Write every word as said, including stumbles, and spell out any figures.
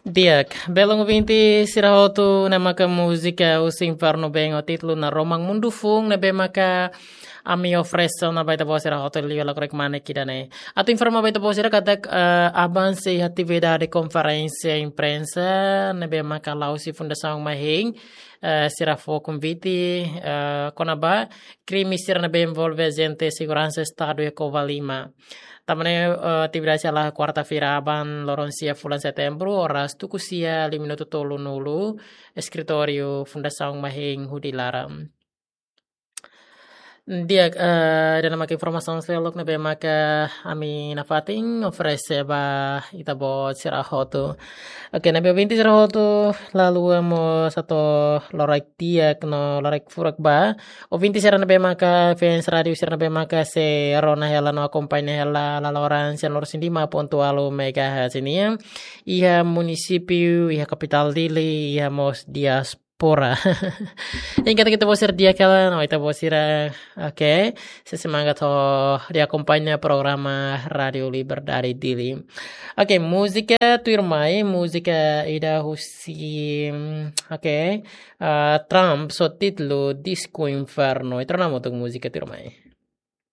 Di'ak, belun ouvinte sira hotu, ne'e maka múzika Husi Infernu Been ho títulu Naroman Mundu Foun, ne'ebé maka ami oferese ona ba ita-boot sira hotu liu lakorik mane ida-ne'e. Atu informa ba ita-boot sira katak, eh, avansa iha atividade konferénsia imprensa ne'ebé maka la'o husi Fundasaun Mahein, eh, sira fó konvite, eh, kona-ba krime sira ne'ebé envolve ajente seguransa Estadu iha Covalima. Tanba ne'e, eh, atividade sei hala'o kuarta-feira aban loron sia fulan Setembru, oras tuku sia liu minutu tolunulu, eskritóriu Fundasaun Mahein Hudi Laran. Di'ak, eh, ida-ne'e maka informasaun seluk ne'ebé maka ami nafatin oferese ba ita-boot sira hotu. Oke, ne'ebé ouvinte sira hotu, lalika mós atu loraik di'ak no loraik furak ba ouvinte sira ne'ebé maka fans rádiu sira ne'ebé maka sei rona hela no akompaña hela laloran sian loro sin lima pontu ualu megahertz nian iha munisípiu, iha kapitál Dili, iha mós diáspora. Entaun katak ita-boot sira di'ak hela no ita-boot sira, oke, sei semangat hodi akompaña programa Rádiu Liberdade Dili. Oke, múzika tuirmai, múzika ida husi, oke, ah, Trump ho títulu Disco Inferno. Ita rona hamutuk múzika tuirmai.